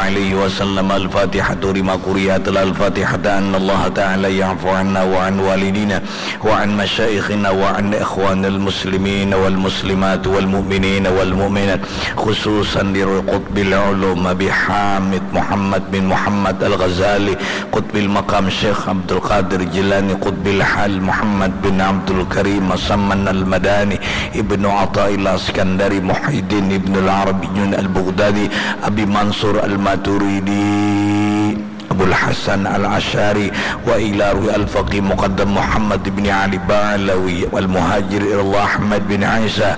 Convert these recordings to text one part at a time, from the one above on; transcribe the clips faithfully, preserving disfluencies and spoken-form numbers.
عليه وسلم. الفاتحة. لما قرئت الفاتحة أن الله تعالى يعفو عنا وعن والدينا وعن مشايخنا وعن إخوان المسلمين والمسلمات والمؤمنين والمؤمنات، خصوصا لقطب العلوم أبي حامد محمد بن محمد الغزالي، قطب المقام شيخ عبد القادر جيلاني، قطب الحال محمد بن عبد الكريم مسمن المداني، ابن عطاء الله السكندري، محي الدين ابن العربي البغدادي، أبي منصور الماتريدي، أبو الحسن الأشعري، وإلى روح الفقيه مقدم محمد بن علي بعلوي، والمهاجر إلى الله أحمد بن عيسى،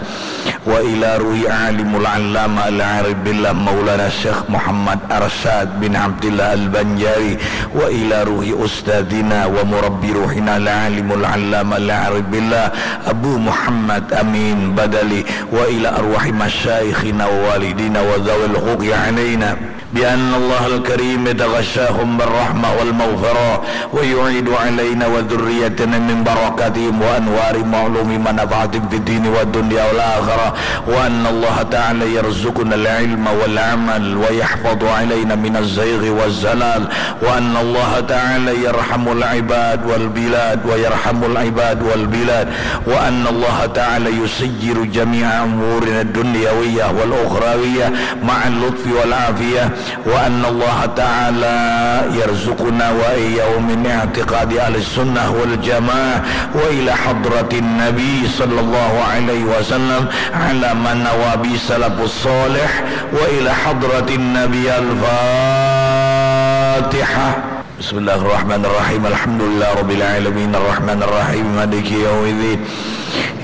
وإلى روح عالم العلامة العارف بالله مولانا الشيخ محمد أرشاد بن عبد الله البنجاري، وإلى روح أستاذنا ومربي روحنا العالم العلامة العارف بالله أبو محمد أمين بدلي، وإلى أرواح مشايخنا ووالدينا وذوي الحقوق علينا، بأن الله الكريم يتغشاهم بالرحمة والمغفرة، ويعيد علينا وذريتنا من بركاتهم وأنوار معلوم منافعتهم في الدين والدنيا والآخرة، وأن الله تعالى يرزقنا العلم والعمل، ويحفظ علينا من الزيغ والزلال، وأن الله تعالى يرحم العباد والبلاد، ويرحم العباد والبلاد، وأن الله تعالى يسير جميع أمورنا الدنيوية والأخروية مع اللطف والعافية، وأن الله تعالى يرزقنا وإياهم من اعتقاد أهل السنة والجماعة، وإلى حضرة النبي صلى الله عليه وسلم على ما نوى به السلف الصالح، وإلى حضرة النبي. الفاتحة. بسم الله الرحمن الرحيم. الحمد لله رب العالمين. الرحمن الرحيم. مالك يوم الدين.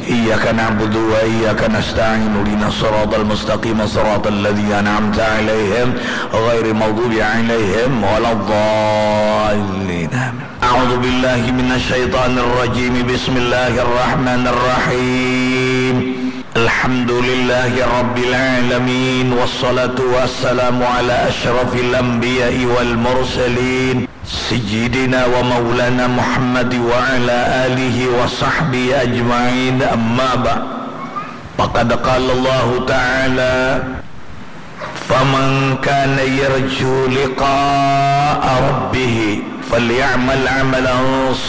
إياك نعبد وإياك نستعين. اهدنا الصراط المستقيم. صراط الذين أنعمت عليهم غير المغضوب عليهم ولا الضالين. آمين. أعوذ بالله من الشيطان الرجيم. بسم الله الرحمن الرحيم. الحمد لله رب العالمين، والصلاة والسلام على أشرف الأنبياء والمرسلين، سيدنا ومولانا محمد وعلى آله وصحبه أجمعين، أما بعد. فقد قال الله تعالى: فمن كان يرجو لقاء ربه فليعمل عملا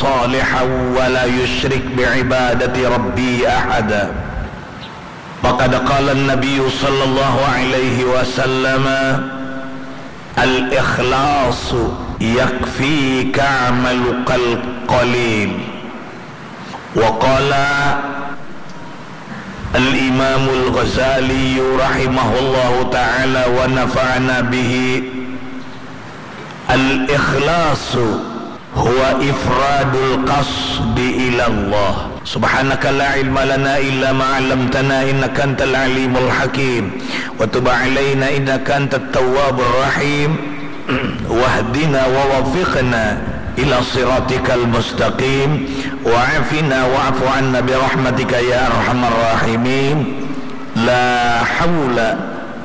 صالحا ولا يشرك بعبادة ربه أحدا. فقد قال النبي صلى الله عليه وسلم: الإخلاص يكفيك عملك القليل. وقال الإمام الغزالي رحمه الله تعالى ونفعنا به: الإخلاص هو إفراد القصد إلى الله. سبحانك لا علم لنا إلا ما علمتنا إنك أنت العليم الحكيم. وتب علينا إنك أنت التواب الرحيم. واهدنا ووفقنا إلى صراطك المستقيم. وعافنا واعف عنا برحمتك يا أرحم الراحمين. لا حول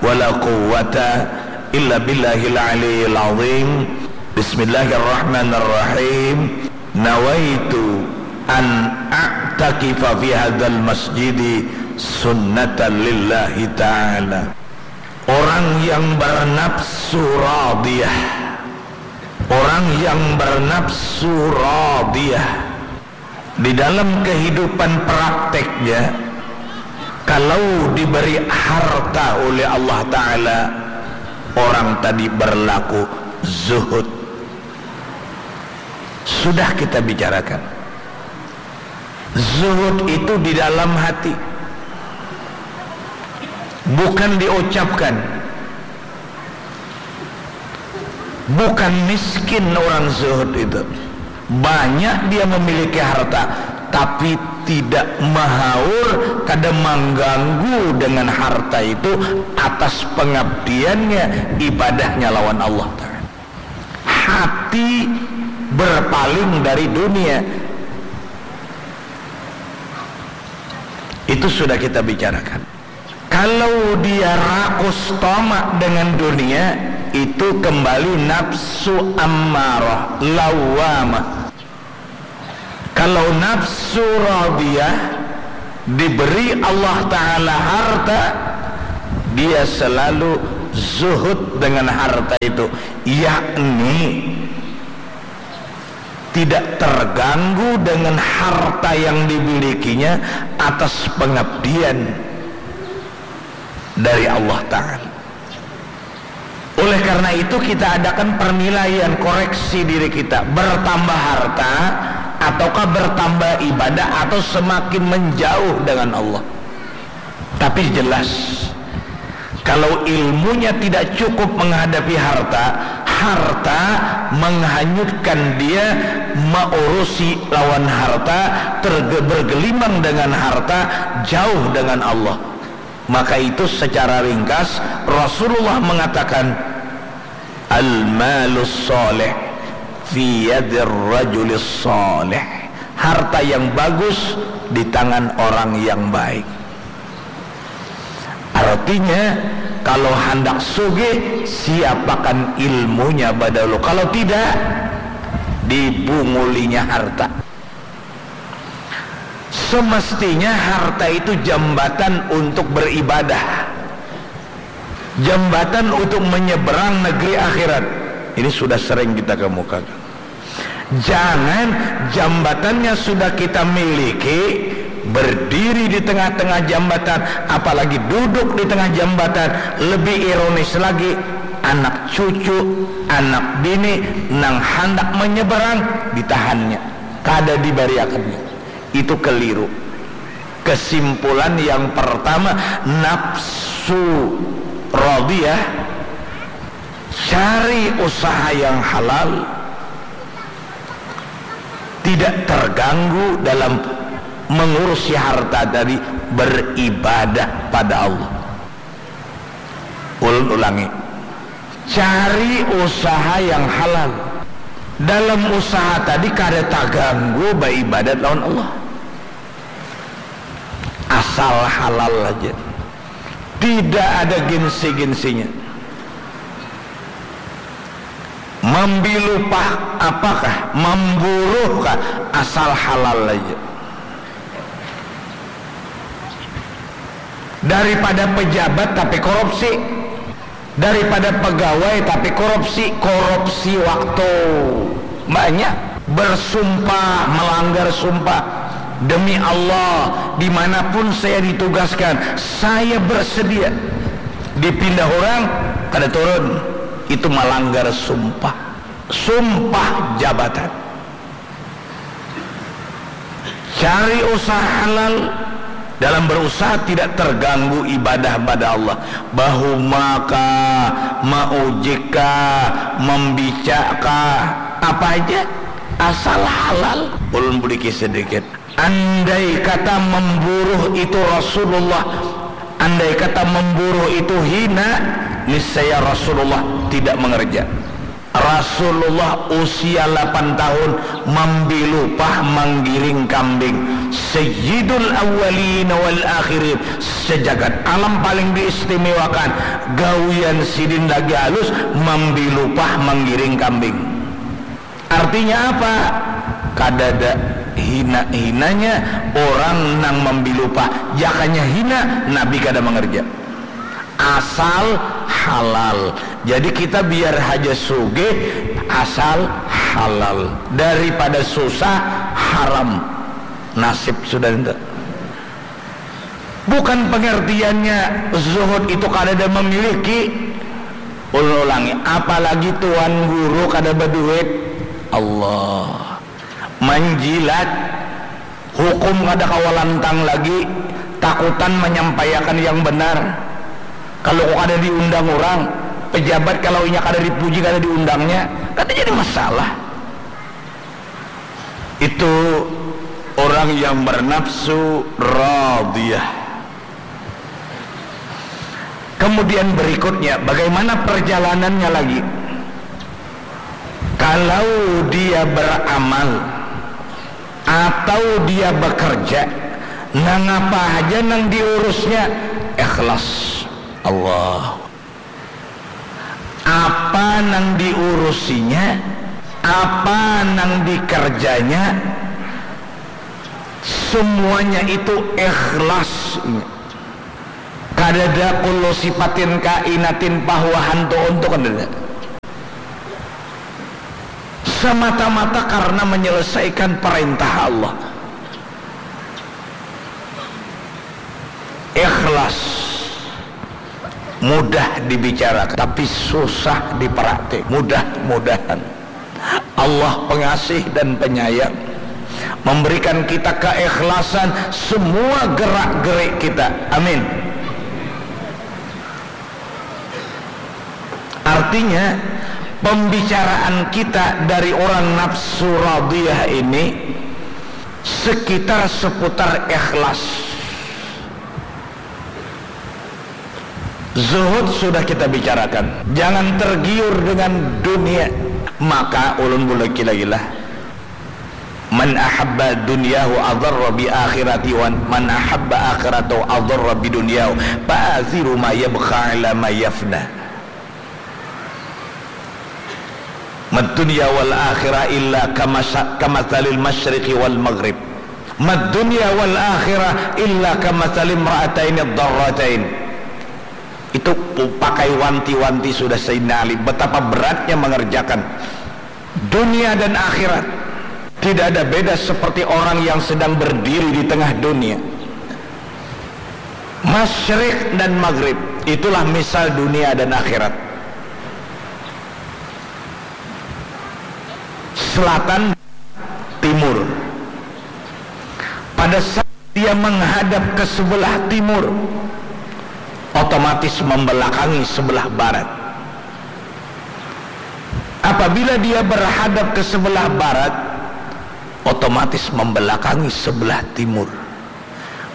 ولا قوة إلا بالله العلي العظيم. بسم الله الرحمن الرحيم. نويت أن أعتكف في هذا المسجد سنة لله تعالى. Orang yang bernafsu radiyah, orang yang bernafsu radiyah, di dalam kehidupan prakteknya, kalau diberi harta oleh Allah Ta'ala, orang tadi berlaku zuhud. Sudah kita bicarakan. Zuhud itu di dalam hati. Bukan diucapkan. Bukan miskin orang zuhud itu. Banyak dia memiliki harta, tapi tidak mahaur, kada mengganggu dengan harta itu atas pengabdiannya, ibadahnya lawan Allah Ta'ala. Hati berpaling dari dunia. Itu sudah kita bicarakan. Kalau dia rakus tamak dengan dunia, itu kembali nafsu ammarah, lawamah. Kalau nafsu radiyah, diberi Allah Ta'ala harta, dia selalu Zuhud dengan harta itu, yakni tidak terganggu dengan harta yang dimilikinya atas pengabdian dari Allah Ta'ala. Oleh karena itu, kita adakan pernilaian, koreksi diri kita, bertambah harta ataukah bertambah ibadah atau semakin menjauh dengan Allah. Tapi jelas, kalau ilmunya tidak cukup menghadapi harta, harta menghanyutkan dia, mengurusi lawan harta, terge-, bergelimang dengan harta, jauh dengan Allah. Maka itu secara ringkas Rasulullah mengatakan, "Al-malus soleh fi yadir rajulis soleh." Harta yang bagus di tangan orang yang baik. Artinya, kalau handak sugih, siapakan ilmunya badahulu. Kalau tidak, dibungulinya harta. Semestinya harta itu jambatan untuk beribadah, jambatan untuk menyeberang negeri akhirat. Ini sudah sering kita kemukakan. Jangan jambatannya sudah kita miliki, berdiri di tengah-tengah jambatan, apalagi duduk di tengah jambatan. Lebih ironis lagi, anak cucu, anak bini nang handak menyeberang, ditahannya, kada dibariakannya. Itu keliru. Kesimpulan yang pertama, nafsu radiyah, cari usaha yang halal, tidak terganggu dalam mengurusi harta dari beribadah pada Allah. Ulun ulangi, cari usaha yang halal. Dalam usaha tadi kada taganggu baibadat lawan Allah. Asal halal aja. Tidak ada gengsi-gengsinya. Mambilupah apakah, mamburuhkah, asal halal aja. Daripada pejabat tapi korupsi, daripada pegawai tapi korupsi, korupsi waktu banyak, bersumpah, melanggar sumpah, "Demi Allah, dimanapun saya ditugaskan, saya bersedia." Dipindah orang, kada turun, itu melanggar sumpah, sumpah jabatan. Cari usaha halal. Dalam berusaha tidak terganggu ibadah pada Allah. Bahuma kah, maujik kah, mambica kah, apa aja, asal halal. Ulun buliki sedikit. Andai kata memburuh itu Rasulullah, andai kata memburuh itu hina, niscaya Rasulullah tidak mengerja. Rasulullah usia lapan tahun mambilupah manggiring kambing. Sayyidul awwalin wal akhirin, sejagat alam paling diistimewakan, gawian sidin lagi halus mambilupah manggiring kambing. Artinya apa? Kadada hina-hinanya orang nang mambilupah. Jakanya hina, Nabi kada mengerja. Asal halal. Jadi kita biar haja sugih, asal halal. Daripada susah, haram. Nasib sudah itu. Bukan pengertiannya zuhud itu kadada memiliki. Ulun ulangi, apalagi tuan guru kada baduit. Allah. Manjilat. Hukum kada kawa lantang lagi, takutan manyampaiakan yang benar. Kalau ku kada diundang urang, pejabat kalau inya kada dipuji, kada diundangnya, kada jadi masalah. Itu orang yang bernafsu radiyah. Kemudian berikutnya, bagaimana perjalanannya lagi? Kalau dia beramal atau dia bekerja, nangapa haja nang diurusnya ikhlas. Allah. Apa nang diurusinya, apa nang dikerjanya, semuanya itu ikhlas. Kadada kulu sipatin kainatin pahuahan tu untuk, kadada. Semata-mata karena menyelesaikan perintah Allah. Ikhlas mudah dibicarakan, tapi susah dipraktik. Mudah-mudahan Allah pengasih dan penyayang memberikan kita keikhlasan semua gerak-gerik kita. Amin. Artinya, pembicaraan kita dari orang nafsu radiyah ini sekitar seputar ikhlas. Zuhud sudah kita bicarakan. Jangan tergiur dengan dunia. Maka ulun bulaki lagi lah. Man ahabba dunyahu adarra bi akhirati wa man ahabba akhiratahu adarra bi dunyahu. Fa athiru ma yabqa ala ma yafna. Mad dunya wal akhirah illa kamasa-, kamathalil masyriqi wal maghrib. Mad dunya wal akhirah illa kamathalim ra'ataini darratain. Itu pu-, pakai wanti-wanti sudah Sayyidina Ali, betapa beratnya mengerjakan dunia dan akhirat. Tidak ada beda seperti orang yang sedang berdiri di tengah dunia. Masyrik dan maghrib, itulah misal dunia dan akhirat. Selatan, timur. Pada saat dia menghadap ke sebelah timur, otomatis membelakangi sebelah barat. Apabila dia berhadap ke sebelah barat, otomatis membelakangi sebelah timur.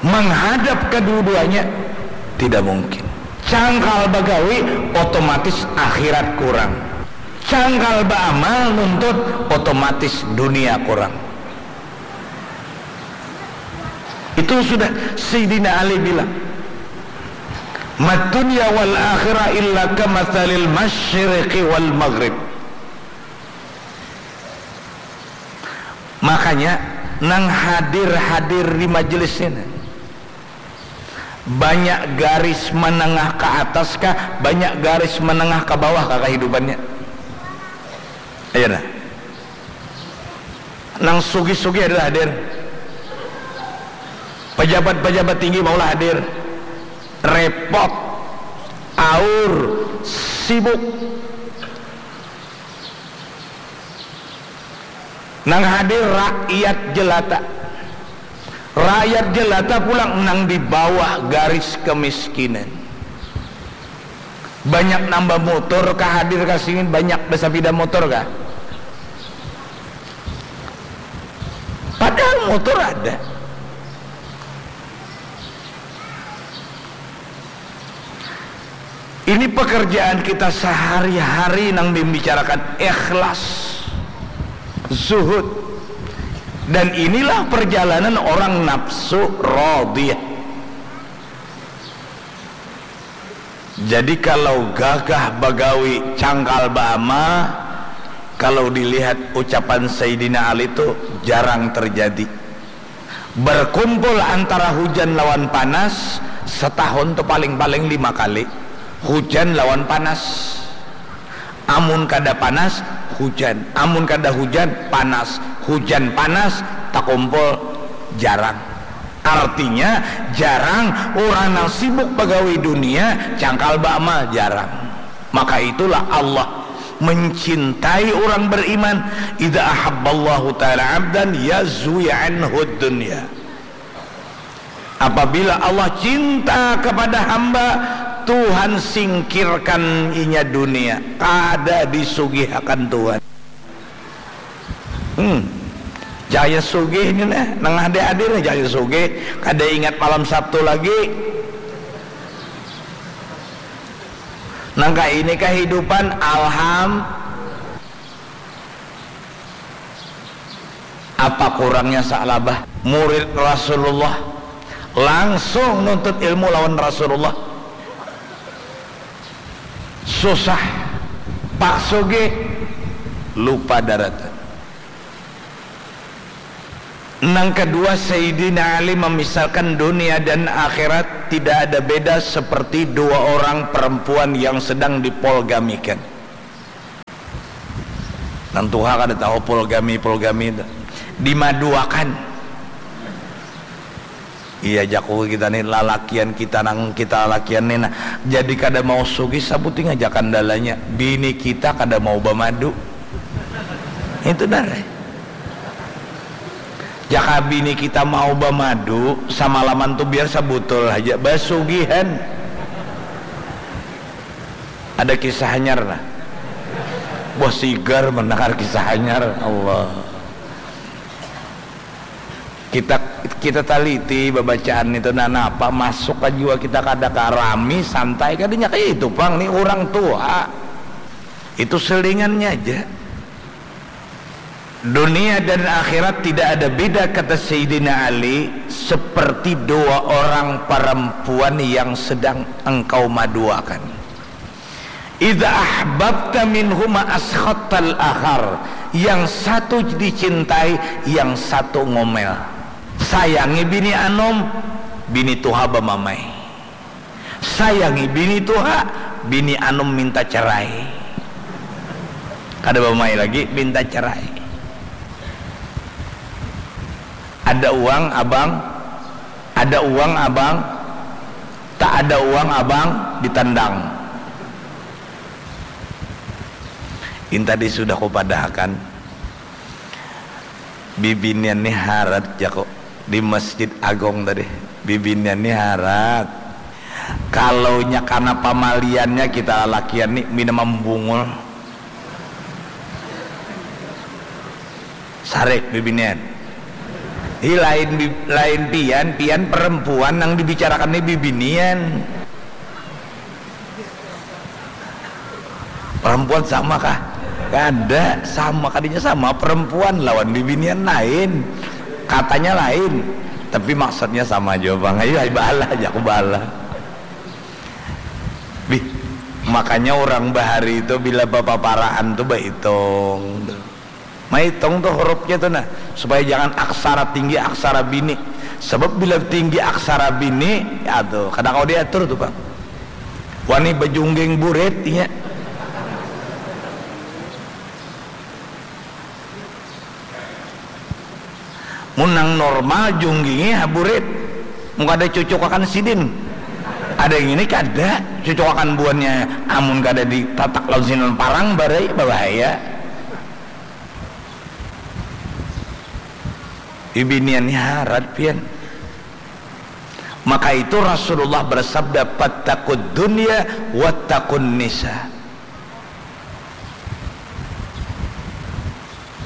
Menghadap kedua-duanya tidak mungkin. Cangkal bagawi, otomatis akhirat kurang. Cangkal baamal nuntut, otomatis dunia kurang. Itu sudah Sayyidina Ali bilang, "Mad dunya wal akhirah illa kamathalil masyriqi wal maghrib." Makanya, nang hadir-hadir di majelis ini, banyak garis menengah ke atas kah, banyak garis menengah ke bawah kah kehidupannya? Ayo nah. Nang sugih-sugih adalah hadir. Pejabat-pejabat tinggi maulah hadir. Repot, aur, sibuk. Nang hadir rakyat jelata. Rakyat jelata pulang nang di bawah garis kemiskinan. Banyak nang bamutur kah hadir ka sini, banyak basapida mutur kah? Padahal mutur ada. Ini pekerjaan kita sehari-hari nang membicarakan ikhlas, zuhud. Dan inilah perjalanan orang nafsu radiyah. Jadi kalau gagah bagawi, cangkal baamal, kalau dilihat ucapan Sayyidina Ali tu jarang terjadi. Berkumpul antara hujan lawan panas, setahun tu paling-paling lima kali. Hujan lawan panas. Amun kada panas, hujan. Amun kada hujan, panas. Hujan panas, takumpul jarang. Artinya, jarang urang nang sibuk bagawi dunia, cangkal baamal, jarang. Maka itulah Allah mencintai orang beriman. Idza ahabballahu ta'ala abdan yazwi anhu dunya. Apabila Allah cinta kepada hamba, Tuhan singkirkan inya dunia. Kada disugihakan Tuhan. Hmm. Cahaya sugih ni nah, nang hadir-hadir ni cahaya sugih, kada ingat malam Sabtu lagi. Nang kaini kahidupan, alham. Apa kurangnya Sa'labah, murid Rasulullah, langsung nuntut ilmu lawan Rasulullah. Susah, Pak Sugih, lupa daratan. Nang kedua, Sayyidina Ali memisalkan dunia dan akhirat tidak ada beda seperti dua orang perempuan yang sedang dipolgamikan. Nang tuha kada tahu polgami, polgami itu. Dimaduakan. Iya jaku kita nih, lalakian kita nang kita lalakian nih, nah, jadi kada mau sugih, sabuting aja kandalanya. Bini kita kada mau bamadu. Itu dah. Jaka bini kita mau bamadu, samalaman tu biar sabutul haja, basugihan. Ada kisah hanyar lah. Wah, sigar mendengar kisah hanyar. Allah. Kita kita taliti babacaan itu, nah, napa masuk ka jiwa kita, kada ka rami, santai, kadanya kaya itu pang ni urang tua. Itu selingannya aja. Dunia dan akhirat tidak ada beda, kata Sayyidina Ali, seperti dua orang perempuan yang sedang engkau maduakan. Idza ahbabta minhuma askhattal akhar, yang satu dicintai, yang satu ngomel. Sayangi bini anom, bini tuha bamamai. Sayangi bini tuha, bini anom minta cerai. Kada bamai lagi, minta cerai. Ada uang, abang. Ada uang, abang. Tak ada uang, abang, ditendang. Ini tadi sudah kupadahakan. Bibinian ni harat, jaku, di Masjid Agung tadi. Bibinian ni harat. Kalau nya kana pamaliannya, kita lalakian ni mina mambungul. Sarik bibinian. Hi, lain bi-, lain pian, pian perempuan nang dibicarakan ni bibinian. Perempuan sama kah? Kada, sama, kadinya sama perempuan lawan bibinian lain. Katanya lain, tapi maksudnya sama jua pang. Ayo, ai, baalah aja, aku baalah. Bih, makanya urang bahari itu bila bapaparaan tu baitung. Maitung tu hurufnya tu nah, supaya jangan aksara tinggi, aksara bini. Sebab bila tinggi aksara bini, aduh, kada kawa diatur tu pang. Wani bajungging burit inya. Mun nang normal junggingi ha burit. Mun kada cucukakan sidin. Ada yang ini kada, cucukakan buannya, amun kada ditatak lawan sinan parang barai, babahaya. Bibinian ni harat pian. Maka itu Rasulullah bersabda, "Fattakud dunya wattaqun nisa."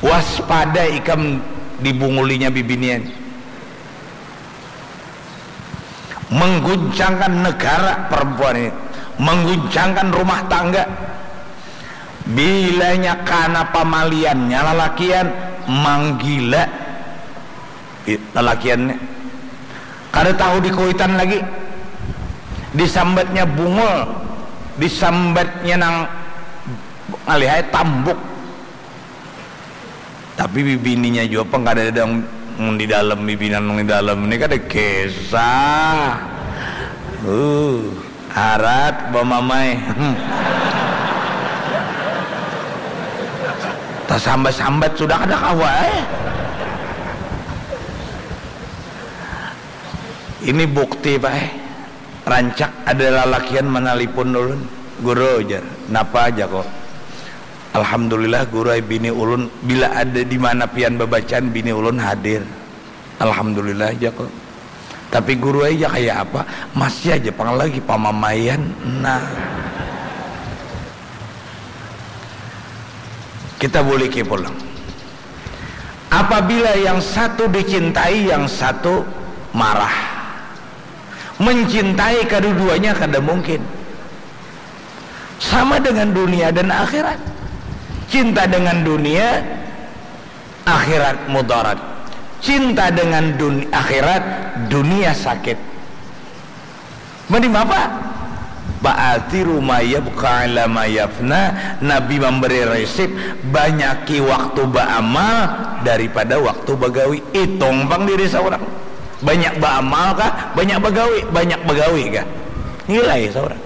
Waspada ikam dibungulinya bibinian. Mengguncangkan negara perempuan ini, mengguncangkan rumah tangga. Bilanya kana pamaliannya lalakian, manggila lalakian ni. Kada tahu di kuitan lagi. Disambatnya bungul, disambatnya nang ngalih ai tambuk. Tapi bibininya jua pang kadada nang di dalam, bibinan nang di dalam ni kada kisah. Uh, harat bamamai. Hmm. Tasambat-sambat sudah kada kawa eh. Ini bukti, Pak eh. Rancak ada lalakian manalipun ulun. "Guru," jar. "Napa?" jaku. "Alhamdulillah, Guru ai, bini ulun, bila ada di mana pian babacaan, bini ulun hadir. Alhamdulillah," jaku. "Tapi, Guru ai, ja kaya apa? Masih aja pang lagi pamamaian." Nah. Kita buliki pulang. Apabila yang satu dicintai, yang satu marah. Mencintai kedua-duanya kada mungkin. Sama dengan dunia dan akhirat. Cinta dengan dunia, akhirat mudarat. Cinta dengan dun-, akhirat, dunia sakit. Mending apa? Fa'athiru ma yabqa ala ma yafna. Nabi mambari risip, banyaki waktu baamal daripada waktu bagawi. Itung pang diri saurang. Banyak baamal kah? Banyak bagawi? Banyak bagawi kah? Nilai saurang.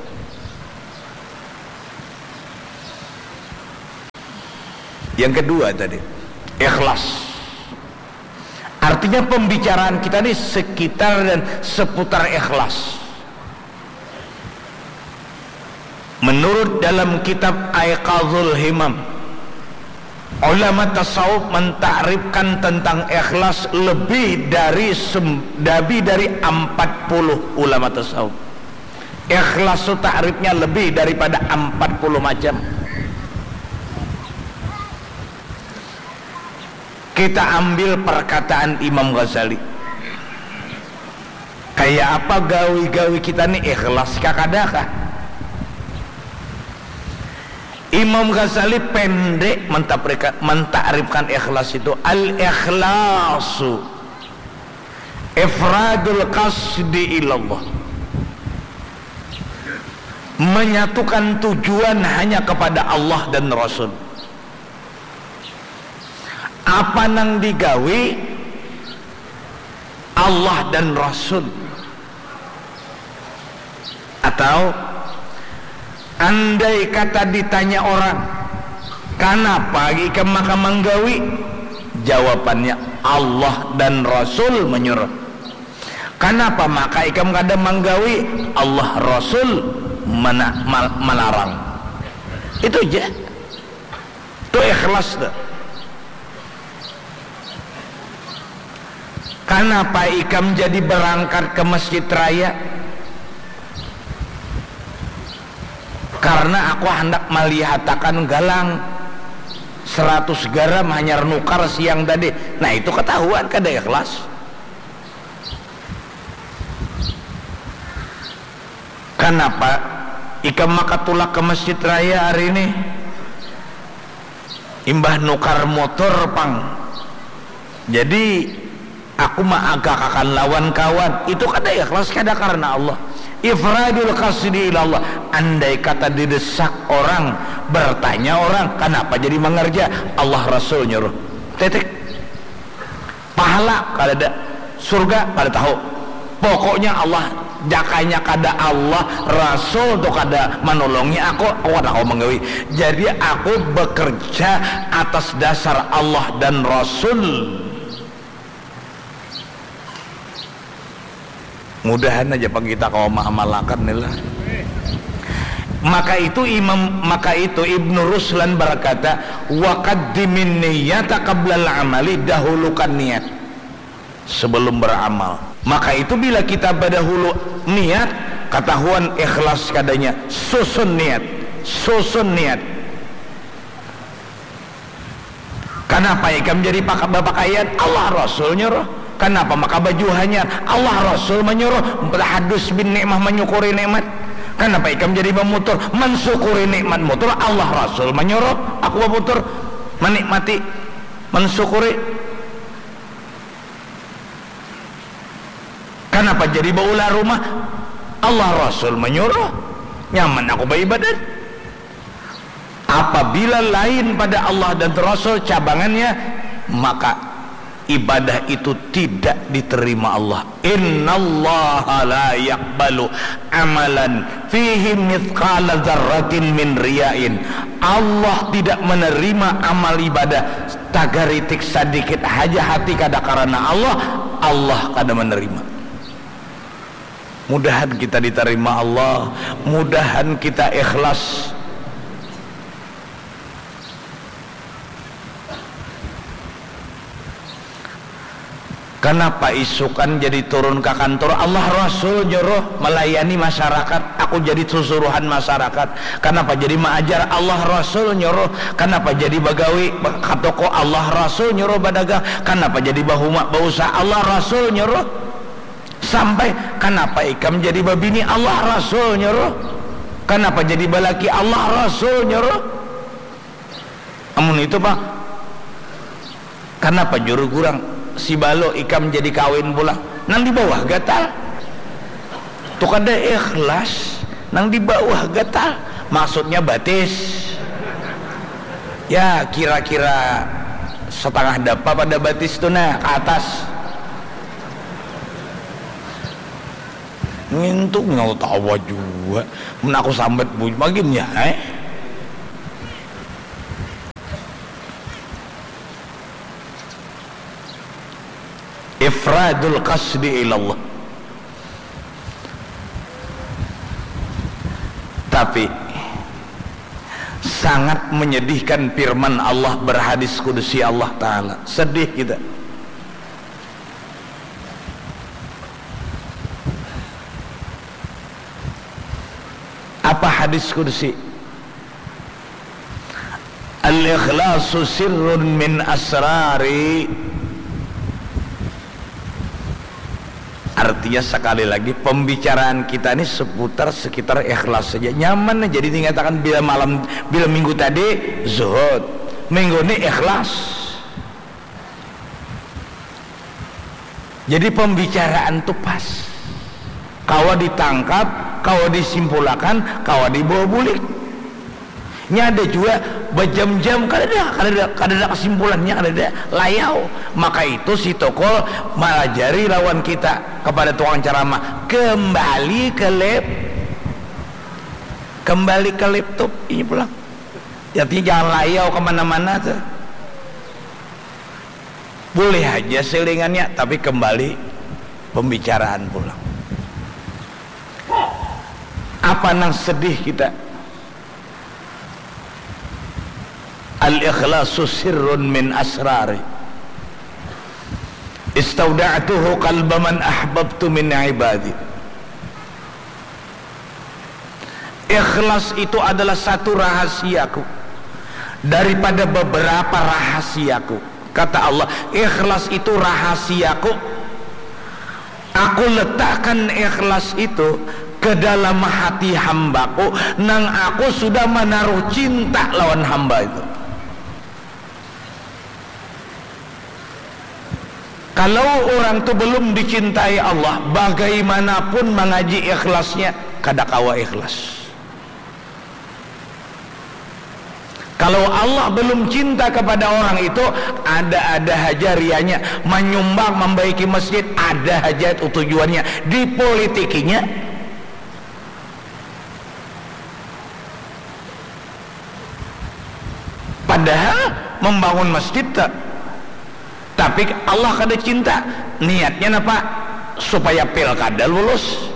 Yang kedua tadi, ikhlas. Artinya pembicaraan kita ni sekitar dan seputar ikhlas. Menurut dalam kitab Aiqazul Himam, ulama tasawuf mentakrifkan tentang ikhlas lebih dari sem- lebih dari empat puluh ulama tasawuf. Ikhlas tu takrifnya lebih daripada empat puluh macam. Kita ambil perkataan Imam Ghazali. Kayak apa gawi-gawi kita ni, ikhlas kah kada kah? Imam Ghazali pendek mentakrifkan, mentakrifkan ikhlas itu, al-ikhlasu ifradul qasdi ilallah, menyatukan tujuan hanya kepada Allah dan Rasul. Apa nang digawi Allah dan Rasul. Atau andai kata ditanya orang, "Kanapa ikam maka manggawi?" Jawabannya, "Allah dan Rasul menyuruh." "Kanapa maka ikam kada manggawi?" "Allah Rasul mana, mal, melarang." Itu aja. Tu ikhlas tu. Kanapa ikam jadi berangkat ke Masjid Raya? Karena aku hendak melihatakan galang seratus garam hanyar nukar siang tadi. Nah, itu ketahuan kada ikhlas. Kanapa ikam maka tulak ke Masjid Raya hari ini? Imbah nukar motor pang. Jadi aku maagakakan lawan kawan. Itu kada ikhlas, kada karena Allah. Ifradul qasdi ilallah. Andai kata didesak orang, bertanya orang, "Kanapa jadi mangerja?" "Allah Rasul nyuruh." Titik. Pahala kadada, surga kada tahu. Pokoknya Allah, jakanya kada Allah, Rasul tu kada manolongi aku, aku kada kawa manggawi. Jadi aku bekerja atas dasar Allah dan Rasul. Mudahan aja pang kita kawa maamalakan ni lah. Maka itu Imam, maka itu Ibnu Ruslan berkata, "Wa qaddimin niyata qablal amali," dahulukan niat sebelum beramal. Maka itu bila kita badahulu niat, katahuan ikhlas kadanya, susun niat, susun niat. Kanapa ikam jadi paka-, bapakaian? Allah Rasul nyuruh. Kanapa maka baju hanyar? Allah Rasul manyuruh. Tahadus bin nikmah, manyukuri nikmat. Kanapa ikam jadi bamutur? Mansukuri nikmat mutur, Allah Rasul manyuruh aku bamutur, manikmati, mansyukuri. Kanapa jadi baulah rumah? Allah Rasul manyuruh. Nyaman aku baibadat. Apabila lain pada Allah dan Rasul cabangannya, maka ibadah itu tidak diterima Allah. Innallaha la yaqbalu amalan fihi mithqala dzarratin min riyain. Allah tidak menerima amal ibadah sagaritik sadikit haja hati kada karana Allah, Allah kada menerima. Mudahan kita ditarima Allah, mudahan kita ikhlas. Kanapa isukan jadi turun ka kantur? Allah Rasul nyuruh melayani masyarakat, aku jadi susuruhan masyarakat. Kanapa jadi maajar? Allah Rasul nyuruh. Kanapa jadi bagawi ka toko? Allah Rasul nyuruh badagang. Kanapa jadi bahuma bausaha? Allah Rasul nyuruh. Sampai, kanapa ikam jadi babini? Allah Rasul nyuruh. Kanapa jadi balaki? Allah Rasul nyuruh. Amun itu pang, kanapa juru gurang si balo ikam jadi kawin pulang? Nang di bawah gatal. Tu kada ikhlas. Nang di bawah gatal, maksudnya batis. Ya, kira-kira setengah dapa pada batis tu nah, ke atas. Ngintu nyawa tawa jua. Mun aku sambat bunyi magin ya, eh. Ifradul qasdi ilallah. Tapi sangat menyedihkan firman Allah berhadis kudusi Allah Ta'ala. Sedih kita. Apa hadis kudusi? Al-ikhlasu sirrun min asrari. Artinya, sekali lagi, pembicaraan kita ini seputar, sekitar ikhlas saja. Nyaman jadi dikatakan bila malam, bila minggu tadi zuhud, minggu ini ikhlas. Jadi pembicaraan tu pas. Kawa ditangkap, kawa disimpulakan, kawa dibawa bulik. Nya ada jua bajam-jam kadada, kadada, kadada kesimpulannya, kadada, layau. Maka itu si Tokol malajari lawan kita kepada tukang ceramah, kembali ke lap-, kembali ke laptop ini pulang. Artinya jangan layau kemana-mana tuh. Boleh aja selingannya, tapi kembali pembicaraan pulang. Apa nang sedih kita? Al-ikhlasu sirrun min asrari. Istauda'tuhu qalba man ahbabtu min ibadi. Ikhlas itu adalah satu rahasiaku daripada beberapa rahasiaku. Kata Allah, ikhlas itu rahasiaku. Aku letakkan ikhlas itu ke dalam hati hambaku, nang aku sudah menaruh cinta lawan hamba itu. Kalau orang tu belum dicintai Allah, bagaimanapun mangaji ikhlasnya, kada kawa ikhlas. Kalau Allah belum cinta kepada orang itu, ada-ada haja rianya, manyumbang, mambaiki masjid, ada haja itu tujuannya, dipolitikinya. Padahal membangun masjid ta-, tapi Allah kada cinta. Niatnya napa? Supaya pilkada lulus.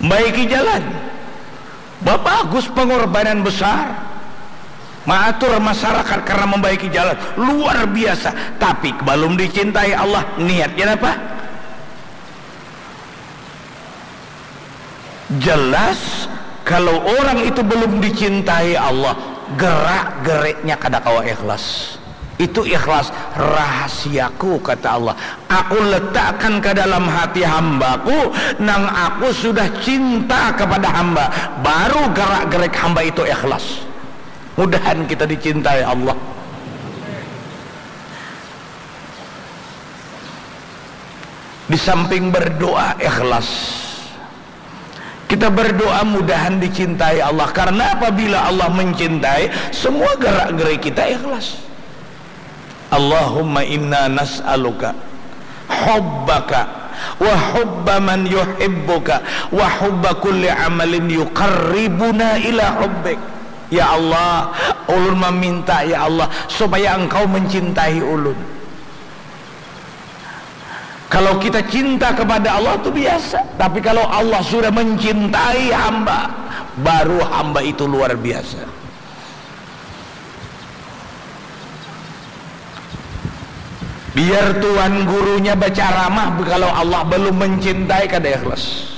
Baiki jalan. Bagus pengorbanan besar. Maatur masyarakat karena membaiki jalan. Luar biasa. Tapi belum dicintai Allah. Niatnya apa? Jelas, kalau orang itu belum dicintai Allah, gerak-geriknya kada kawa ikhlas. Itu ikhlas rahasiaku, kata Allah. Aku letakkan ke dalam hati hambaku, nang aku sudah cinta kepada hamba. Baru gerak-gerik hamba itu ikhlas. Mudahan kita dicintai Allah. Di samping berdoa ikhlas, kita berdoa mudahan dicintai Allah. Karena apabila Allah mencintai, semua gerak-gerik kita ikhlas. Allahumma inna nas'aluka hubbaka wa hubba man yuhibbuka wa hubba kulli amalin yuqarribuna ila hubbik. Ya Allah, ulun meminta, ya Allah, supaya Engkau mencintai ulun. Kalau kita cinta kepada Allah itu biasa, tapi kalau Allah sudah mencintai hamba, baru hamba itu luar biasa. Biar tuan gurunya bacaramah, kalau Allah belum mencintai, kada ikhlas.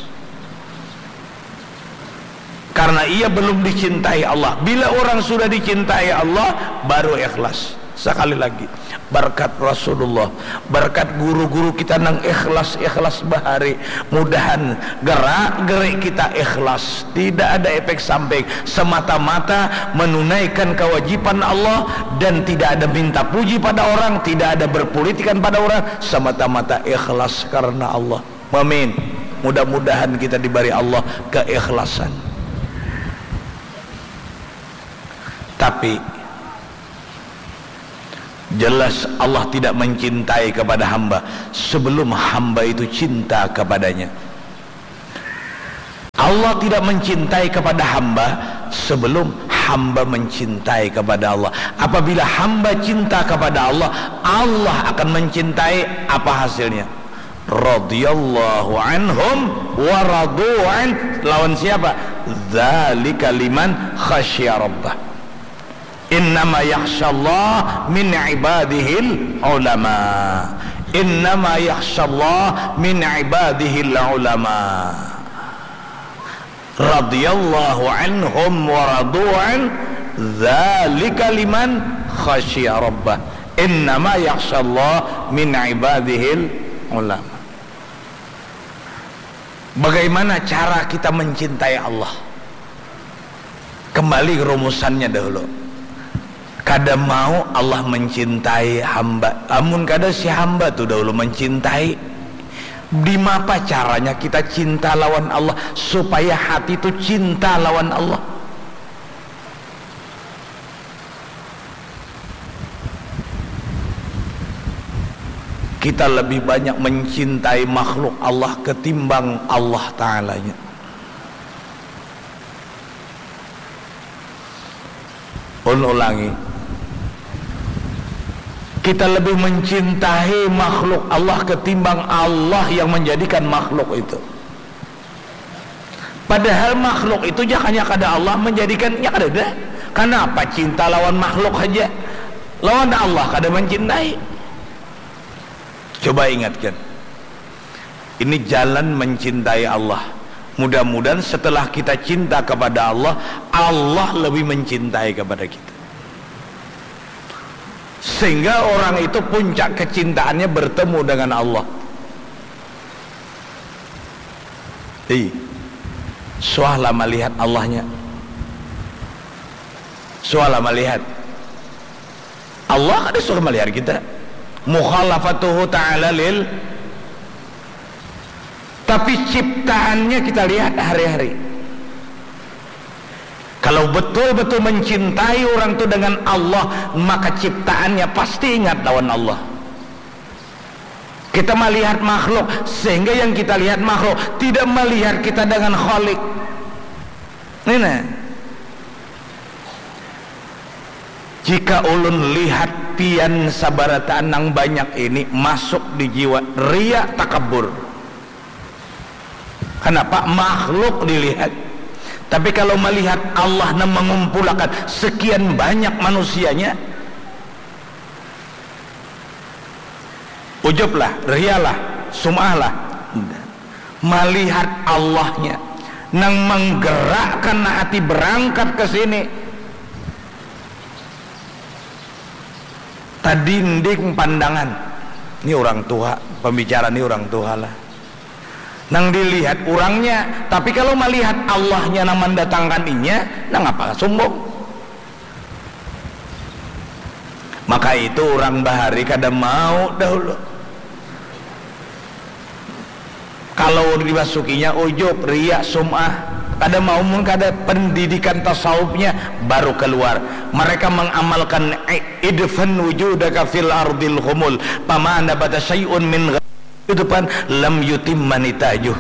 Karena ia belum dicintai Allah. Bila orang sudah dicintai Allah, baru ikhlas. Sekali lagi, berkat Rasulullah, berkat guru-guru kita nang ikhlas-ikhlas bahari, mudahan gerak-gerik kita ikhlas, tidak ada efek samping, semata-mata menunaikan kewajiban Allah dan tidak ada minta puji pada orang, tidak ada berpolitikan pada orang, semata-mata ikhlas karena Allah. Amin. Mudah-mudahan kita diberi Allah keikhlasan. Tapi jelas Allah tidak mencintai kepada hamba sebelum hamba itu cinta kepadanya. Allah tidak mencintai kepada hamba sebelum hamba mencintai kepada Allah. Apabila hamba cinta kepada Allah, Allah akan mencintai. Apa hasilnya? Radhiyallahu anhum wa radu an. Lawan siapa? Dzalika liman khasya rabbah. Innama yakhsyallah min ibadihil ulama. Innama yakhsyallah min ibadihil ulama. Radhiyallahu anhum wa radu an. Dzalika liman khasya rabbah. Innama yakhsyallah min ibadihil ulama. Bagaimana cara kita mencintai Allah? Kembali ke rumusannya dahulu. Kada mau Allah mencintai hamba. Amun kada si hamba tu dahulu mencintai. Dimapa caranya kita cinta lawan Allah supaya hati tu cinta lawan Allah? Kita lebih banyak mencintai makhluk Allah ketimbang Allah Ta'alanya. Ulun ulangi, kita lebih mencintai makhluk Allah ketimbang Allah yang menjadikan makhluk itu. Padahal makhluk itu jakanya kada Allah menjadikannya, kadada. Kanapa cinta lawan makhluk haja? Lawan Allah kada mencintai. Coba ingatkan. Ini jalan mencintai Allah. Mudah-mudahan setelah kita cinta kepada Allah, Allah lebih mencintai kepada kita. Sehingga orang itu puncak kecintaannya bertemu dengan Allah. Ih, suahlah melihat Allahnya. Suahlah melihat. Allah kada suruh melihat kita. Mukhalafatuhu ta'ala lil, tapi ciptaannya kita lihat hari-hari. Kalau betul-betul mencintai orang tu dengan Allah, maka ciptaannya pasti ingat lawan Allah. Kita melihat makhluk, sehingga yang kita lihat makhluk tidak melihat kita dengan Khalik. Ini nah. Jika ulun lihat pian sabarataan nang banyak ini masuk di jiwa, ria, takabur. Kenapa? Makhluk dilihat. Tapi kalau melihat Allah nang mengumpulakan sekian banyak manusianya, ujub lah, ria lah, sum'ah lah. Melihat Allahnya nang menggerakkan hati berangkat ke sini. Tadinding pandangan. Ini orang tua, pembicara ini orang tua lah. Nang dilihat orangnya, tapi kalau melihat Allahnya nang mendatangkan inya, nang apa sombong? Maka itu orang bahari kada mau dahulu. Kalau dimasukinya ujub, ria, sum'ah, kada mau, mun kada pendidikan tasawufnya baru keluar. Mereka mengamalkan i-, idfan wujudaka fil ardil khumul, fama nabata syai'un min gha-, itu pan lam yutimma nitajuh.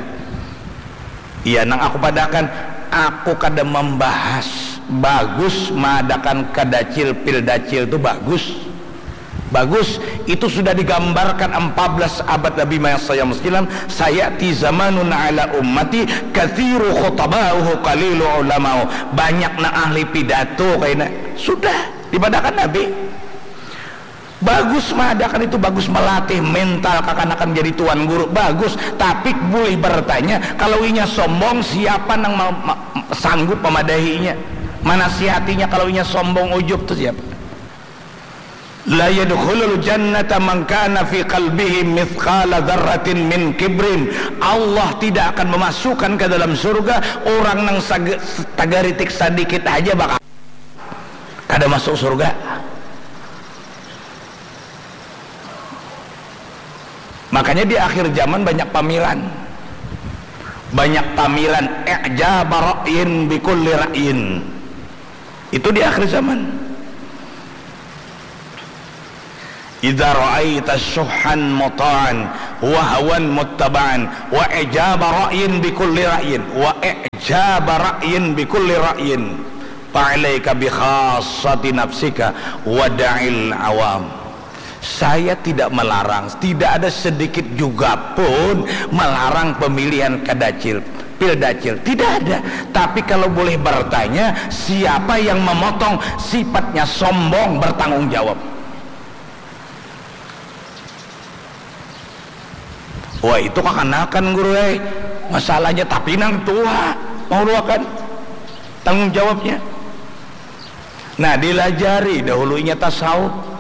Iya, nang aku padakan, aku kada membahas bagus maadakan kadacil pil dacil tu bagus. Bagus, itu sudah digambarkan empat belas abad Nabi Muhammad sallallahu alaihi wasallam, "Sayati zamanun ala ummati kathiru khutabauhu qalilu ulamau." Banyak nang ahli pidato kaina. Sudah dipadakan Nabi. Bagus maadakan itu, bagus melatih mental kakanakan jadi tuan guru, bagus. Tapi boleh bertanya, kalau inya sombong, siapa nang ma-, ma-, sanggup memadahinya, menasihatinya? Kalau inya sombong, ujub tu siapa? La yadkhulul jannata man kana fi qalbihi mithqala dzarratin min kibrin. Allah tidak akan memasukkan ke dalam surga orang nang sage- tagaritik sadikit aja bakal kada masuk surga. Makanya di akhir zaman banyak pamilan. Banyak pamilan, i'jaba ra'yin bi kulli ra'yin. Itu di akhir zaman. Idza ra'aita syuhhan muta'an wa hawan muttaba'an wa i'jaba ra'yin bi kulli ra'yin wa i'jaba ra'yin bi kulli ra'yin, fa'alaika bi khassati nafsika wa da'il awam. Saya tidak melarang, tidak ada sedikit juga pun melarang pemilihan kadacil, pildacil. Tidak ada. Tapi kalau boleh bertanya, siapa yang memotong sifatnya sombong, bertanggung jawab? Wah, itu kakanakan, Guru, eh. Masalahnya, tapi nang tua mau duakan tanggung jawabnya. Nah, dilajari dahulu inya tasawuf.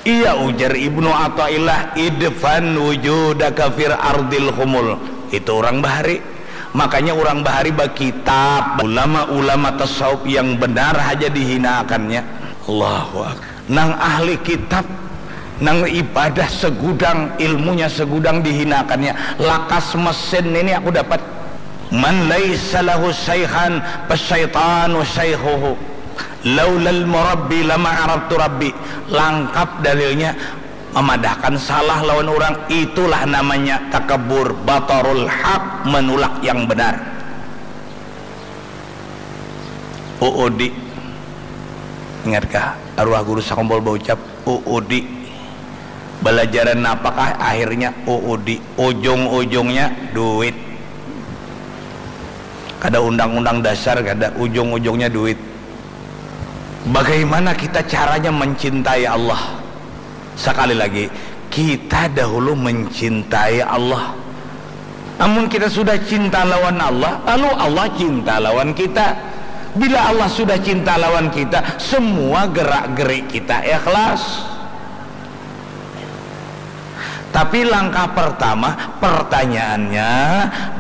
Iya, ujar Ibnu Athaillah, idfan wujudaka fir ardil khumul. Itu orang bahari. Makanya orang bahari bakitab, ulama-ulama tasawuf yang benar haja dihinaakannya. Allahu akbar. Nang ahli kitab, nang ibadah segudang, ilmunya segudang dihinaakannya. Lakas mesin ini aku dapat. Man laisa lahu syaikhan fasyaitanu syaikhuhu. Laulal murabbi lama arabtu rabbi. Langkap dalilnya, memadahkan salah lawan orang, itulah namanya takabur, batarul haq, menolak yang benar. Uudi. Ingatkah arwah guru sakumpul baucap, Uudi? Balajaran napakah akhirnya? Uudi. Ujung-ujungnya duit. Kada undang-undang dasar, kada, ujung-ujungnya duit. Bagaimana kita caranya mencintai Allah? Sekali lagi, kita dahulu mencintai Allah. Amun kita sudah cinta lawan Allah, lalu Allah cinta lawan kita. Bila Allah sudah cinta lawan kita, semua gerak-gerik kita ikhlas. Tapi langkah pertama, pertanyaannya,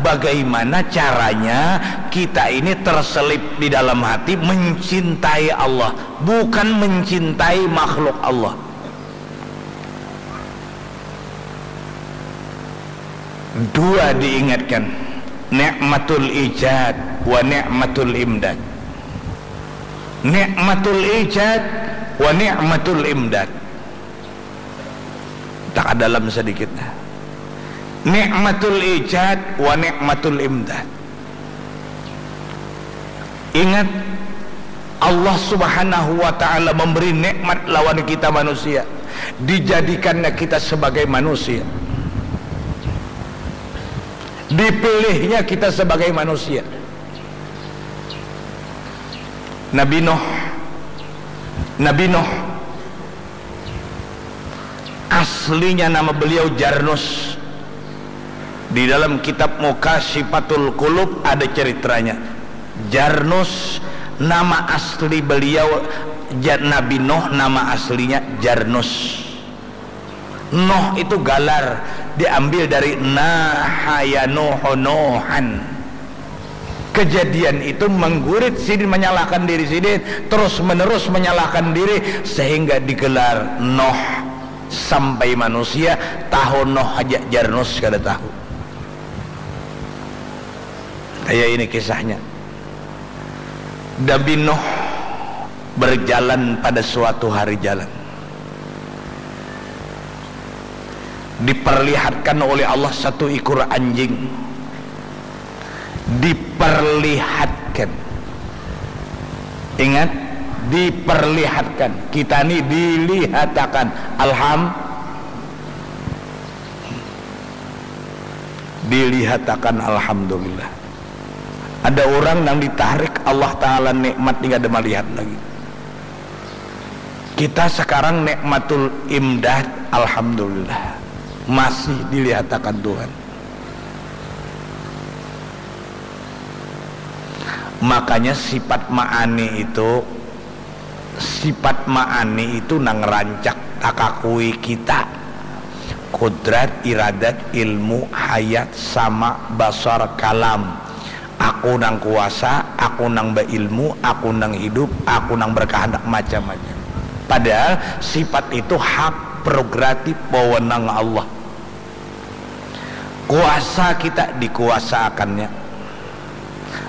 bagaimana caranya kita ini terselip di dalam hati mencintai Allah, bukan mencintai makhluk Allah. Dua diingatkan, nikmatul ijad wa nikmatul imdad. Nikmatul ijad wa nikmatul imdad. Tak dalam sedikit. Nikmatul ijad wa nikmatul imdad. Ingat, Allah Subhanahu wa Ta'ala memberi nikmat lawan kita manusia, dijadikannya kita sebagai manusia, dipilihnya kita sebagai manusia. Nabi Nuh, Nabi Nuh, aslinya nama beliau Jarnus. Di dalam kitab Mukasyifatul Qulub ada ceritanya. Jarnus, nama asli beliau, Ja-, Nabi Nuh nama aslinya Jarnus. Nuh itu galar, diambil dari naha yanuhu nuhan. Kejadian itu menggurit sidin, menyalahkan diri sidin, terus menerus menyalahkan diri, sehingga digelar Nuh. Sampai manusia tahu Nuh haja, Jarnus kada tahu. Kaya ini kisahnya. Nabi Nuh berjalan pada suatu hari jalan. Diperlihatkan oleh Allah satu ikor anjing. Diperlihatkan. Ingat, diperlihatkan. Kita ni dilihatakan. Alham-, dilihatakan, alhamdulillah. Ada orang nang ditarik Allah Ta'ala nikmat ni kada malihat lagi. Kita sekarang nikmatul imdad, alhamdulillah, masih dilihatakan Tuhan. Makanya sifat ma'ani itu Sifat ma'ani itu nang rancak takakui kita. Kudrat, iradat, ilmu, hayat, sama, basar, kalam. Aku nang kuasa, aku nang bailmu, aku nang hidup, aku nang berkehendak, macam-macam. Padahal sifat itu hak prerogatif wewenang Allah. Kuasa kita dikuasaakannya.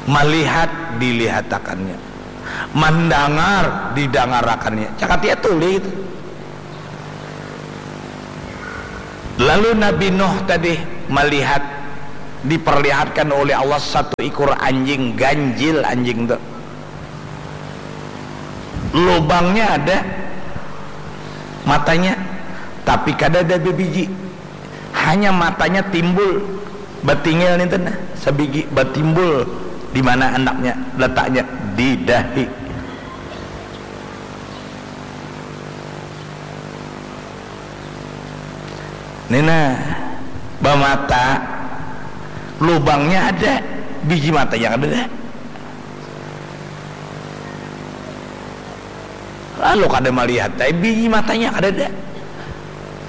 Melihat dilihatakannya. Mandangar didangarakannya. Cakap ya tuli itu. Lalu Nabi Nuh tadi melihat, diperlihatkan oleh Allah satu ikor anjing, ganjil anjing tu. Lubangnya ada matanya, tapi kada ada bibiji. Hanya matanya timbul, batingil ninten nah, sabigi batimbul. Di mana anaknya? Letaknya di dahi. Ni nah, bamata, lubangnya ada, biji matanya kadada. Lalu kada malihat ai biji matanya kadada.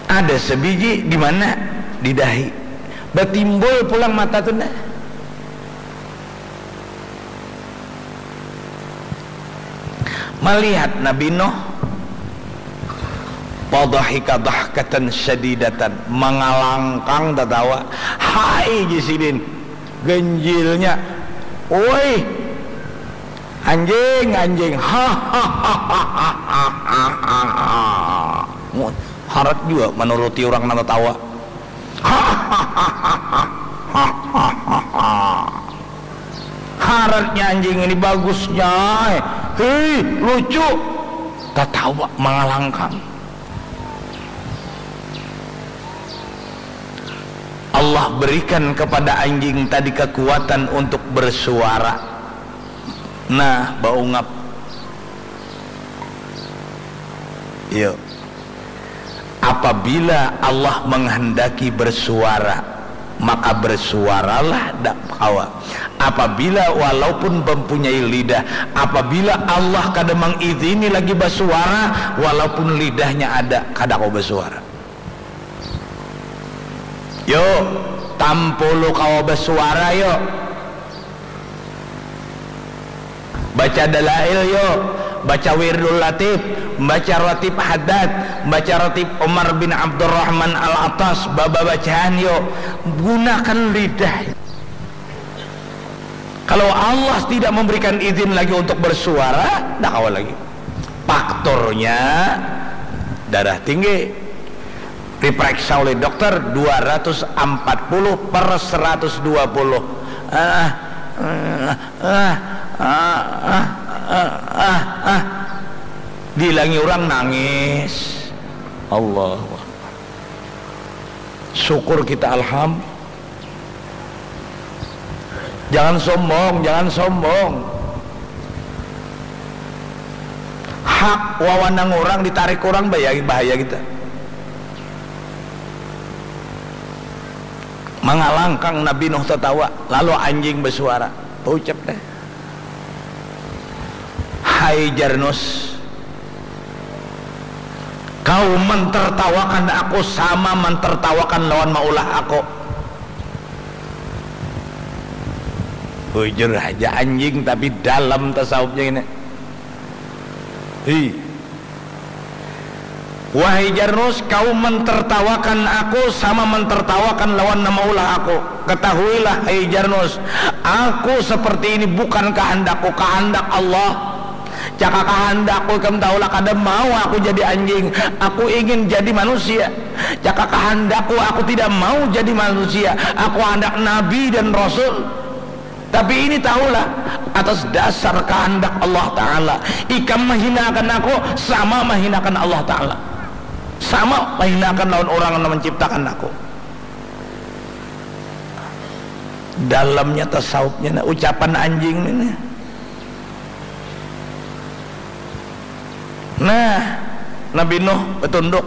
Ada sabiji di mana? Di dahi. Batimbul pulang mata tu nah. Malihat Nabi Nuh, fadhahika dhahkatan syadidatan, mangalangkang tatawa. Hai, jar sidin, ganjilnya. Woi, anjing, anjing. Hahaha. Harat jua manuruti urang nang tatawa. Haratnya anjing ini bagusnya. Hei, lucu. Tatawa mangalangkang. Allah berikan kepada anjing tadi kekuatan untuk bersuara. Nah, baungap. Iya. Apabila Allah menghendaki bersuara, maka bersuaralah dak kawa. Apabila walaupun mempunyai lidah, apabila Allah kada mengizini lagi bersuara, walaupun lidahnya ada, kada kawa bersuara. Yo, tampulu kawa bersuara, yo. Baca dalail, yo. Baca wirdul latif, baca ratib haddad, baca ratib Umar bin Abdurrahman al-Attas, bababacaan, yo. Gunakan lidah. Kalau Allah tidak memberikan izin lagi untuk bersuara, dak kawa lagi. Faktornya darah tinggi. Diperiksa oleh dokter dua ratus empat puluh per seratus dua puluh. Ah, ah, ah, ah, ah, ah, ah. Diilangi orang nangis. Allahu Akbar. Syukur kita, alham. Jangan sombong, jangan sombong. Hak wawanang orang ditarik orang, bahaya, bahaya kita. Mangalangkang Nabi Nuh tatawa, lalu anjing bersuara. Ucap deh. Hai Jarnus, kau mentertawakan aku sama mentertawakan lawan maulah aku. Bujur haja anjing, tapi dalam tasawufnya ini. Hi. Wahai Jarnus, kau mentertawakan aku sama mentertawakan lawan nama ulah aku. Ketahuilah, hai Jarnus, aku seperti ini bukan kehendakku, kehendak Allah. Jaka kehendakku, ikam tahulah, kada mau aku jadi anjing. Aku ingin jadi manusia. Jaka kehendakku, aku tidak mau jadi manusia. Aku hendak nabi dan rasul. Tapi ini tahulah, atas dasar kehendak Allah Ta'ala, ikam menghinakan aku sama menghinakan Allah Ta'ala. Sama menghinakan lawan orang yang menciptakan aku. Dalamnya tasawufnya, nah, ucapan anjing ini. Nah, Nabi Nuh betunduk.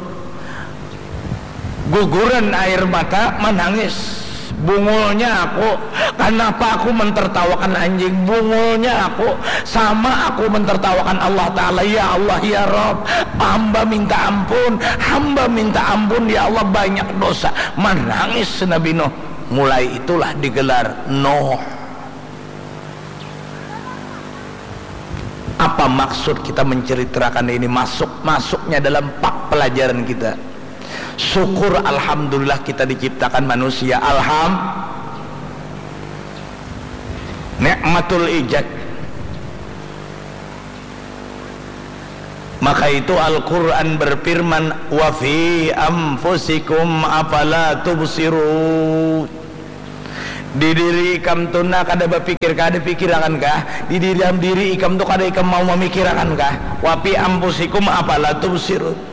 Guguran air mata, manangis. Bungulnya aku, kenapa aku mentertawakan anjing? Bungulnya aku, sama aku mentertawakan Allah Ta'ala. Ya Allah, ya Rabb, hamba minta ampun, hamba minta ampun, ya Allah, banyak dosa. Menangis Nabi Nuh. Mulai itulah digelar Nuh. Apa maksud kita menceritakan ini? Masuk, masuknya dalam pak pelajaran kita. Syukur, alhamdulillah, kita diciptakan manusia. Alham, nikmatul ijad. Maka itu Al-Quran berfirman, "Wa fi anfusikum afala tubsirun." Di diri ikam tu nah kada bapikir, kada pikirakan kah? Di diri, diri ikam tu kada ikam mau mamikirakan kah? "Wa fi anfusikum afala tubsirun."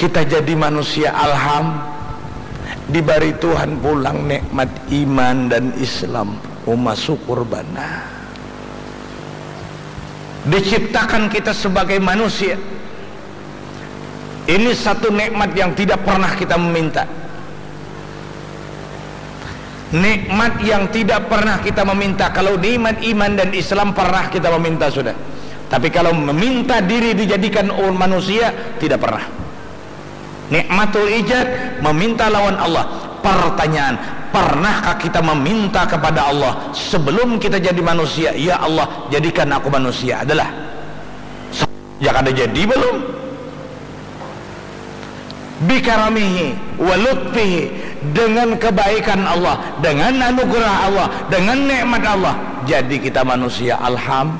Kita jadi manusia, alham, dibari Tuhan pulang nikmat iman dan Islam. Uma syukur banar. Diciptakan kita sebagai manusia. Ini satu nikmat yang tidak pernah kita meminta. Nikmat yang tidak pernah kita meminta. Kalau nikmat iman dan Islam pernah kita meminta sudah. Tapi kalau meminta diri dijadikan manusia, tidak pernah. Nikmatul ijad, meminta lawan Allah. Pertanyaan, pernahkah kita meminta kepada Allah sebelum kita jadi manusia, "Ya Allah, jadikan aku manusia"? Adalah. Ya, kada jadi belum? Bikaramihi wa lutfihi, dengan kebaikan Allah, dengan anugerah Allah, dengan nikmat Allah, jadi kita manusia. Alham,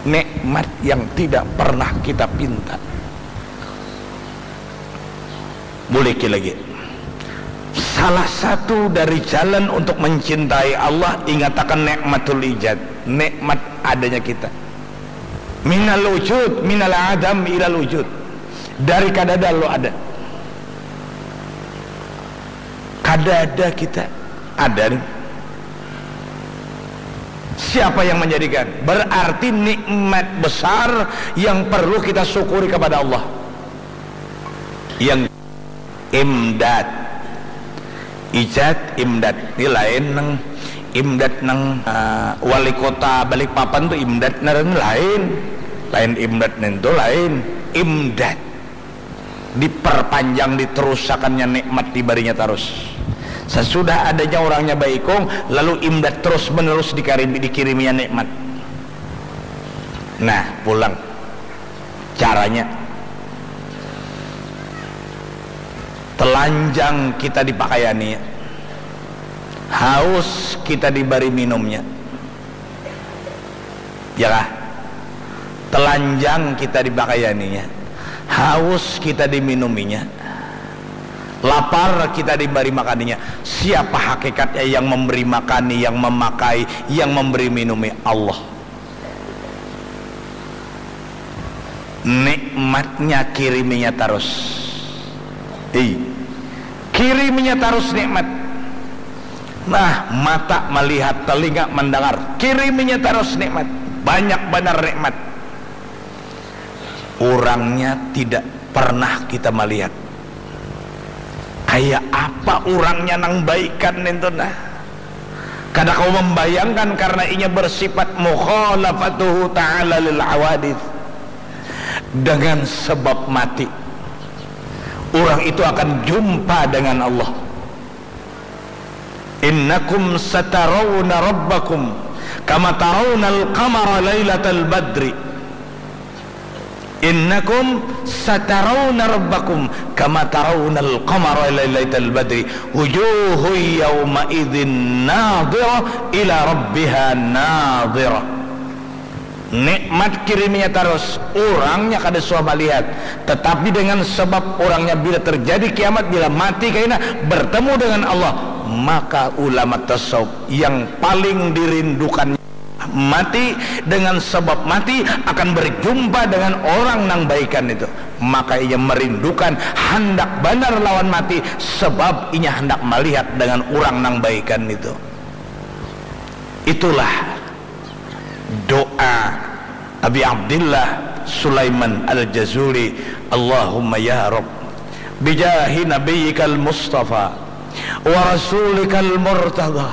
nikmat yang tidak pernah kita pinta. Buliki lagi. Salah satu dari jalan untuk mencintai Allah, ingatakan nikmatul ijad, nikmat adanya kita. Minal wujud, minal adam ilal wujud. Dari kadada lo ada. Kadada kita ada nih. Siapa yang menjadikan? Berarti nikmat besar yang perlu kita syukuri kepada Allah. Yang imdad, ijad, imdad ni lain nang imdad nang, eh, wali kota Balikpapan tu imdad ngaran lain, lain imdad nintu lain, imdad diperpanjang, diterusakannya nikmat dibarinya tarus. Sesudah adanya orangnya baikung, lalu imdad terus menerus dikirimi, dikiriminya nikmat. Nah, pulang. Caranya, telanjang kita dipakaiani, haus kita dibari minumnya, ya kah? Telanjang kita dipakaianinya, haus kita diminuminya, lapar kita dibari makaninya. Siapa hakikatnya yang memberi makani, yang memakai, yang memberi minumi? Allah. Nikmatnya kiriminya tarus. Hei, kiriminya tarus nikmat. Nah, mata malihat, telinga mandangar, kiriminya tarus nikmat. Banyak banar nikmat. Urangnya tidak pernah kita malihat. Kaya apa urangnya nang baikan nintu nah? Kada kawa mambayangkan karna inya bersifat mukhalafatuhu ta'ala lil hawadits. Dengan sebab mati, urang itu akan jumpa dengan Allah. Innakum satarawna rabbakum kama tarawnal qamara lailatal badri. Innakum satarawna rabbakum kama tarawnal qamara lailatal badri. Wujuhun yawma idzin nadhirah ila rabbiha nadhirah. Nikmat kiriminya tarus, urangnya kada suah malihat. Tetapi dengan sebab urangnya, bila terjadi kiamat, bila mati kaina bertemu dengan Allah, maka ulama tasawuf yang paling dirindukan mati, dengan sebab mati akan berjumpa dengan orang nang baikan itu. Maka inya merindukan, handak banar lawan mati, sebab inya handak malihat dengan urang nang baikan itu. Itulah doa Abi Abdillah Sulaiman Al-Jazuli, "Allahumma ya Rabb, بجاه نبيك المصطفى ورسولك المرتضى،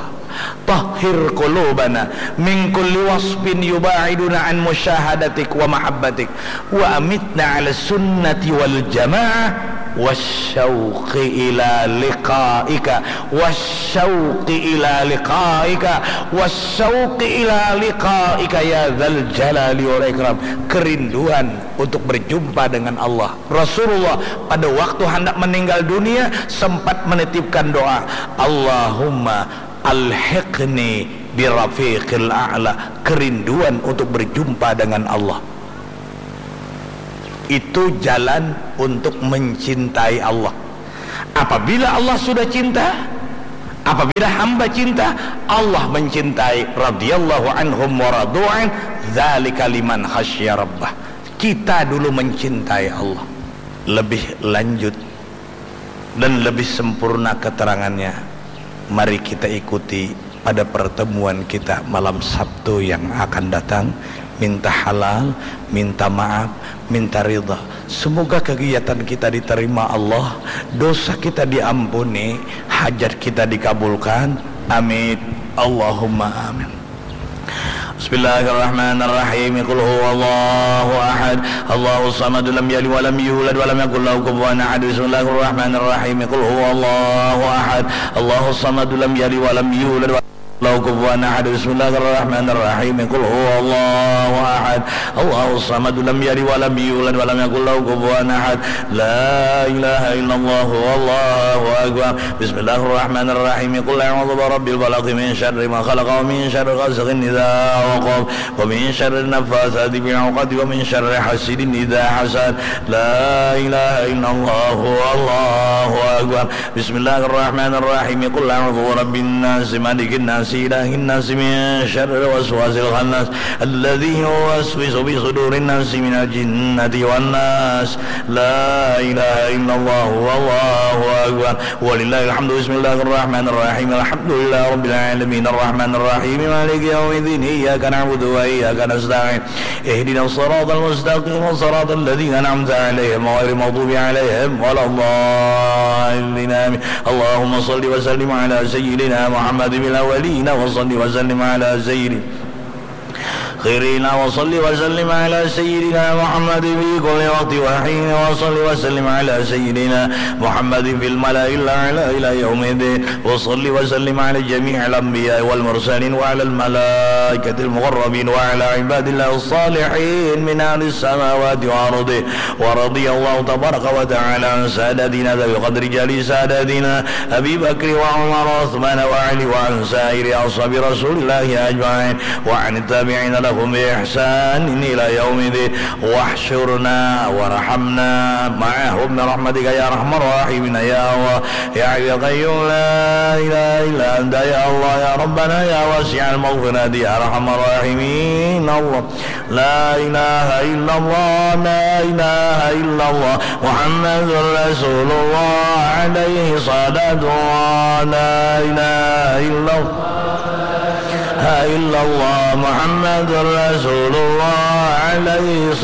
طهر قلوبنا من كل وصف يباعدنا عن مشاهدتك ومحبتك، وأمتنا على السنة والجماعة والشوق إلى لقائك، والشوق إلى لقائك، والشوق إلى لقائك يا ذا الجلال والإكرام. Kerinduan untuk berjumpa dengan Allah. Rasulullah pada waktu hendak meninggal dunia sempat menitipkan doa, "Allahumma alhiqni birafiqil a'la," kerinduan untuk berjumpa dengan Allah. Itu jalan untuk mencintai Allah. Apabila Allah sudah cinta, apabila hamba cinta, Allah mencintai, radhiyallahu anhum wa radu'an, dzalika liman khasyya rabbah. Kita dulu mencintai Allah. Lebih lanjut dan lebih sempurna keterangannya, mari kita ikuti pada pertemuan kita malam Sabtu yang akan datang. Minta halal, minta maaf, minta ridha. Semoga kegiatan kita diterima Allah, dosa kita diampuni, hajat kita dikabulkan. Amin. Allahumma amin. بسم الله الرحمن الرحيم. قل هو الله أحد، الله الصمد، لم يلد ولم يولد ولم يكن له كفوا أحد. بسم الله الرحمن الرحيم. قل هو الله أحد، الله الصمد، لم يلد ولم يولد ولم يكن له كفوا أحد. بسم الله الرحمن الرحيم. قل هو الله أحد، الله الصمد، لم يلد ولم يولد ولم يكن له كفوا أحد. لا إله إلا الله، والله أكبر. بسم الله الرحمن الرحيم. قل أعوذ برب الفلق، من شر ما خلق، ومن شر غاسق إذا وقب، ومن شر النفاثات في العقد، ومن شر حاسد إذا حسد. لا إله إلا الله، والله أكبر. بسم الله الرحمن الرحيم. قل أعوذ برب الناس، ملك الناس، إله الناس، من شر الوسواس الخناس، الذي يوسوس في صدور الناس من الجنة والناس. لا إله إلا الله، والله أكبر. ولله الحمد. بسم الله الرحمن الرحيم. الحمد لله رب العالمين. الرحمن الرحيم. مالك يوم الدين. إياك نعبد وإياك نستعين. اهدنا الصراط المستقيم. صراط الذين أنعمت عليهم غير المغضوب عليهم ولا الضالين. آمين. اللهم صل وسلم على سيدنا محمد في الأولين، وصل وسلم على سيدنا خيرنا، وصل وسلم على سيدنا محمد في كل وقت وحين، وصل وسلم على سيدنا محمد في الملأ الأعلى إلى يوم الدين، وصل وسلم على جميع الأنبياء والمرسلين وعلى الملائكة المقربين وعلى عباد الله الصالحين من أهل السماوات وأرضه، ورضي الله تبارك وتعالى عن سادتنا ذوي القدر جليل سادتنا أبي بكر وعمر وعثمان وعلي وعن سائر أصحاب رسول الله أجمعين وعن التابعين لهم بإحسان إلى يوم الدين، واحشرنا وارحمنا معهم برحمتك يا أرحم الراحمين يا الله يا حي يا قيوم لا إله إلا أنت يا الله يا ربنا يا واسع المغفرة يا أرحم الراحمين الله. لا إله إلا الله، لا إله إلا الله، محمد رسول الله، عليه صلاة الله، لا إله إلا الله، لا إله إلا الله، محمد رسول الله، عليه